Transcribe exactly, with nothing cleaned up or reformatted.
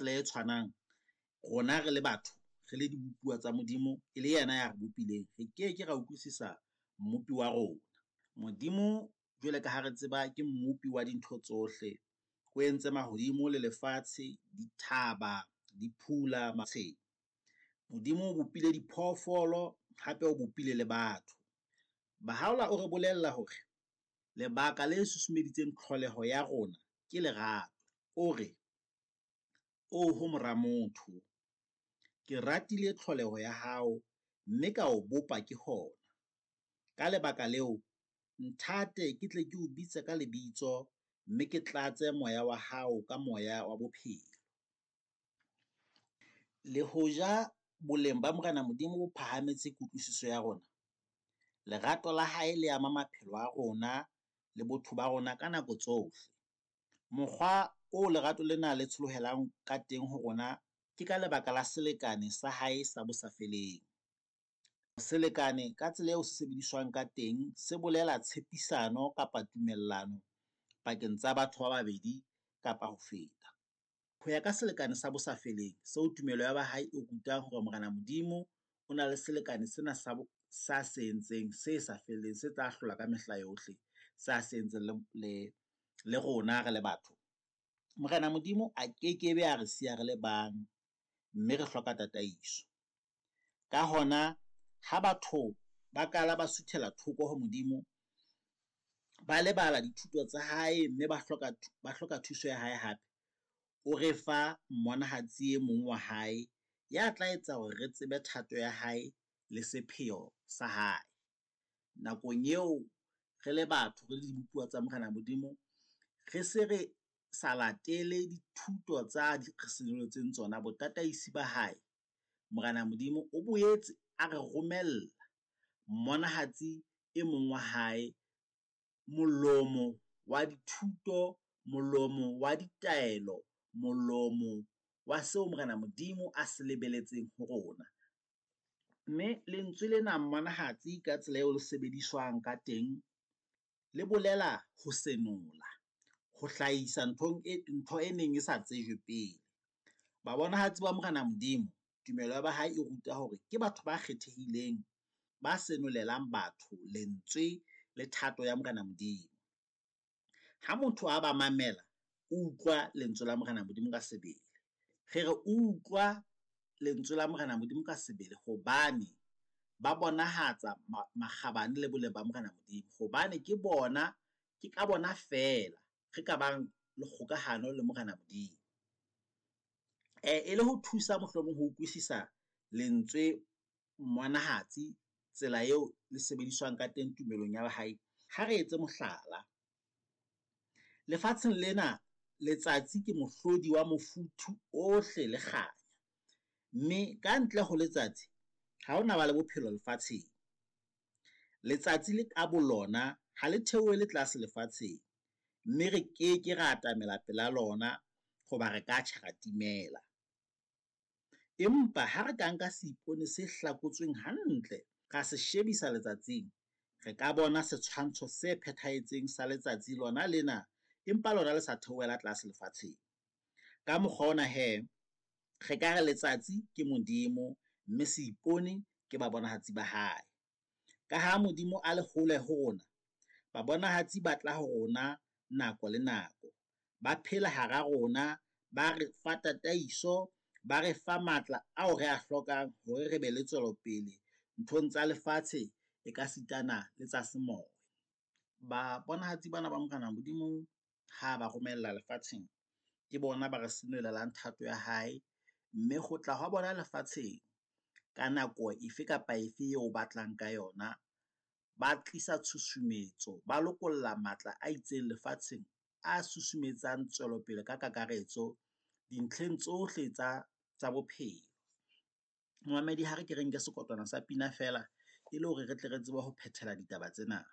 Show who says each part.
Speaker 1: Tsela e tshwanang, rona re le batho, re le dibopuwa tsa Modimo, e le yena ya re bopileng, re ke ke ra utlwisisa Mmopi wa rona. Modimo jwale ka ha re tseba ke mmopi wa dintho tsohle, o entse mahodimo le lefatshe, dithaba, diphula . Modimo o bopile diphoofolo hape o bopile le batho. Bahaola o re bolella hore lebaka le susumeditseng tlholeho ya rona ke lerato. O re, oho mora motho, ke ratile tlholeho ya hao, mme ka o bopa ke hona. Ka lebaka leo, nthate ke tle ke o bitse ka lebitso, mme ke tlatse moya wa hao ka moya wa bophelo. Le hoja boleng ba Morena Modimo bo phahametse kutlwisiso ya rona, lerato la hae le ama maphelo a rona le botho ba rona ka nako tsohle. Mokgwa oo lerato lena le tsholohelang ka teng ho rona, ke ka lebaka la selekane sa hae sa bo sa feleng. Selekane ka tsela eo sebediswang ka teng, se bolela tshepisano kapa tumellano pakeng tsa batho ba babedi kapa ho feta. Ho ya ka selekane sa bo sa feleng seo tumelo ya ba hae e rutang hore Morena Modimo o na le selekane sena sa sa se entseng se sa feleng, se tla hlola ka mehla yohle, sa se entseng le le le rona re le batho. Morena Modimo a kekebe a re siya re le bang, mme re hloka tataiso. Ka hona ha batho ba kala ba suthela thoko ho Modimo, ba lebala dithuto tsa hae, mme ba hloka ba hloka thuso ya hae hape. O re fa mmonahatsi e mong wa hae ya tla etsa hore re tsebe thato ya hae le sepheo sa hae. Nakong eo re le batho re le dibopuwa tsa Morena Modimo, re se re sa latele dithuto tsa di re senoletseng tsona botataisi ba hae. Morena Modimo o boetse a re romella mmonahatsi e mong wa hae, molomo wa dithuto, molomo wa ditaelo, molomo wa seo Morena Modimo a se lebeletseng ho rona. Mme lentswe lena mmonahatsi ka tsela eo le sebediswang ka teng, le bolela ho senola, ho hlahisa nthong e ntho e neng e sa tsejwe pele. Babonahatsi ba Morena Modimo tumelo ya ba hae e ruta hore ke batho ba kgethehileng, ba senolelang batho lentswe le thato ya Morena Modimo. Ha motho a ba mamela, o utlwa lentswe la Morena Modimo ka sebele. Re re utlwa lentswe la Morena Modimo ka sebele hobane ba bonahatsa makgabane le boleng ba Morena Modimo. Hobane ke bona, ke ka bona feela re ka bang le kgokahano le Morena Modimo. E le ho thusa mohlomong ho utlwisisa lentswe mmonahatsi tsela eo le sebediswang ka teng tumelong ya ba hae. Ha re etse mohlala, lefatsheng lena letsatsi ke mohlodi wa mofuthu ohle le kganya, mme kantle ho letsatsi ha hona ba le bophelo lefatsheng. Letsatsi le ka bolona ha le theohele tlase lefatsheng, mme re keke ra atamela pela lona hoba re ka tjha, ra timela. Empa ha re ka nka seipone se hlakotsweng hantle, ra se shebisa letsatsing, re ka bona setshwantsho se phethahetseng sa letsatsi lona lena, empa lona le sa theohela tlase lefatsheng. Ka mokgwa ona he, re ka re letsatsi ke Modimo, mme seipone ke babonahatsi ba hae. Ka ha Modimo a le hole ho rona, babonahatsi ba tla ho rona nako le nako. Ba phela hara rona, ba re fa tataiso, ba re fa matla ao re a hlokang hore re be le tswelopele nthong tsa lefatshe ekasitana le tsa semoya. Babonahatsi bana ba Morena Modimo ha ba romella lefatsheng, ke bona ba re senolelang thato ya hae. Mme ho tla hwa bona lefatsheng ka nako efe kapa efe eo o batlang ka yona, ba tlisa tshusumetso, ba lokolla matla a itseng lefatsheng a susumetsang tswelopele ka kakaretso dintlheng tsohle tsa tsa bophelo. Momamedi ha re ke re nke sekotwana sa pina feela e le hore re tle re tsebe ho phethela ditaba tsena.